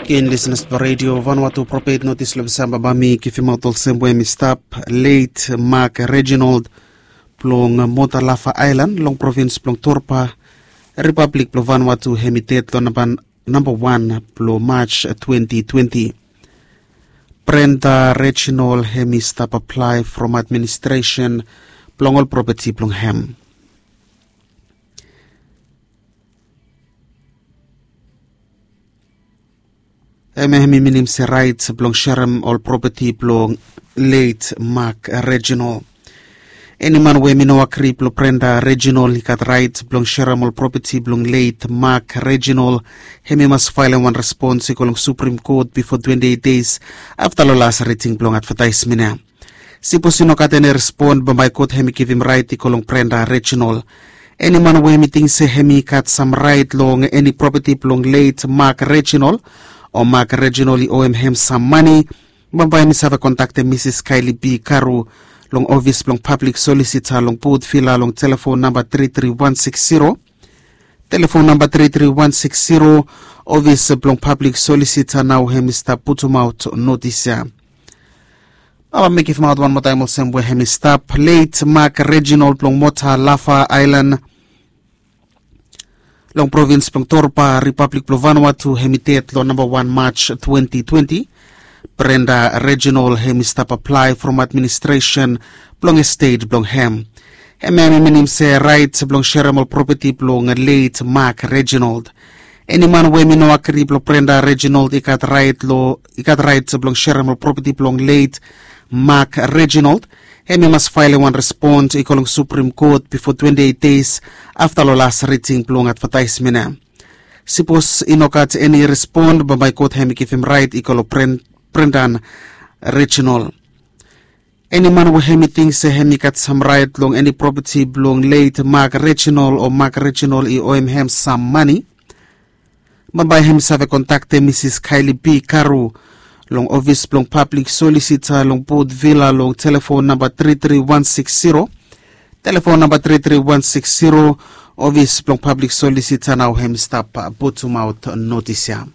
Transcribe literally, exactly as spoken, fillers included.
Ken lisenas blong redio Vanuatu, propet notis long Desemba, ba mi givimaot olsem we hem i stap, leit Mak Reginald blong Motalafa Aelan long provins blong Torpa, Ripablik blong Vanuatu, hem i ded long namba wan blong Maj twenti twenti. Brenda Reginald hem i stap aplae from administresen blong ol propeti blong hem. Hem hem i minim se raet blong serem ol propeti blong leit Mak Reginald. Eni man we hem i no agri blong Brenda Reginald i gat raet blong serem ol propeti blong leit Mak Reginald, hem i mas faelem wan respons i go long Suprem Kot bifo twenti eit deis afta long las riting blong advetaesmen ya. Sipos i no gat eni respon, bambae kot hem i givim raet i go long Brenda Reginald. Eni man we hem i ting se hem i gat sam raet long eni propeti blong leit Mak Reginald o Mak Reginald i oem hem sam mane, bambae hem i save kontaktem Misis Kaeli B Karu long ofis blong pablik solisita long Bot Vila long telefon namba tri tri wan sikis ziro. Telefon namba tri tri wan sikis ziro, ofis blong pablik solisita nao hem i stap putumaot notis ya. Bambae mi givimaot wan moa taem olsem we hem i stap, leit Mak Reginald blong Motalafa Aelan long provins blong Torpa, Ripablik blong Vanuatu, hem i ded long namba wan Maj twenti twenti. Brenda Reginald hem i stap aplae from administresen blong estet blong hem. Hem hem i minim se raet blong serem ol propeti blong leit Mak Reginald. Eni man we hem i no agri blong Brenda Reginald i gat raet long, i gat raet blong serem ol propeti blong leit Mak Reginald, hem i mas faelem wan respon i go long Suprem Kot bifo twenti eit deis afta long las riting blong advetaesmen ya. Sipos i no gat eni respon, bambae kot hem i givim raet i go long Bren-, Brenda Reginald. Eni man we hem i ting se hem i gat sam raet long eni propeti blong leit Mak Reginald o Mak Reginald i oem hem sam mane, bambae hem i save kontaktem Misis Kaeli B Karu long ofis blong pablik solisita long Bot Vila long telefon namba tri tri wan sikis ziro. Telefon namba tri tri wan sikis ziro, ofis blong pablik solisita nao hem i stap putumaot notis ya.